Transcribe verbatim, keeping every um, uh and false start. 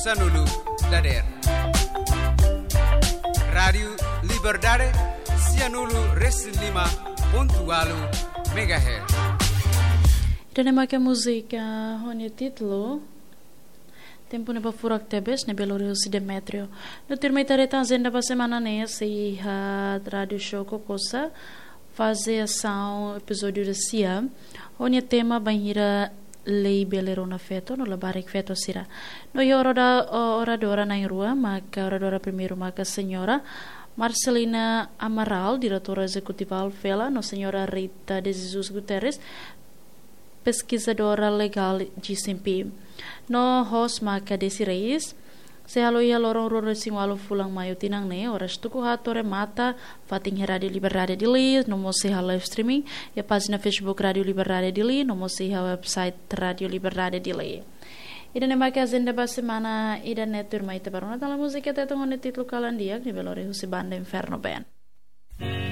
Sanulu dader. Rádiu Liberdade, sianulu resin lima pontu walu megahertz. Ida-ne'e mak múzika ho nia títulu Tempu Ne'ebé Furak Tebes, ne'ebé lori husi Demetrio. No tuirmai ita haree tan ajenda ba semana ne'e, sei iha Rádiu Show Kokosa, faze asaun epizódiu ida sia, ho nia tema bainhira lei bele rona feto no labarik feto sira. No iha orada-, o-, oradora na'in-rua, maka oradora primeiru maka Señora Marcelina Amaral, diretora ezekutiva Alfela, no Señora Rita de Jesus Guterres, peskizadora legál G C M P. No host maka Desi Reis. Sei halo iha loron rua resin walu fulan Maiu tinan ne'e, oras tuku haat to'o remata, fatin iha Rádiu Liberdade Dili, no mós sei halo live streaming iha pájina Facebook Rádiu Liberdade Dili, no mós sei iha website Rádiu Liberdade Dili. Ida-ne'e mak ajenda ba semana ida-ne'e. Tuirmai ita bá rona tan múzika Tetun ho nia títulu Kalan Di'ak, ne'ebé lori husi banda Inferno Band.